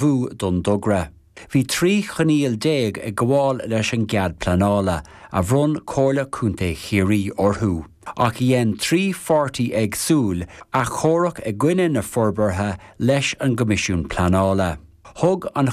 Ullmhú don dtogra. Bhí 13 choinníoll ag gabháil leis an gcead pleanála, a bhronn Comhairle Contae Chiarraí orthu. Ach dhein 3 pháirtí éagsúil achomharc i gcoinne na forbartha leis an gCoimisiún Pleanála. Thug an.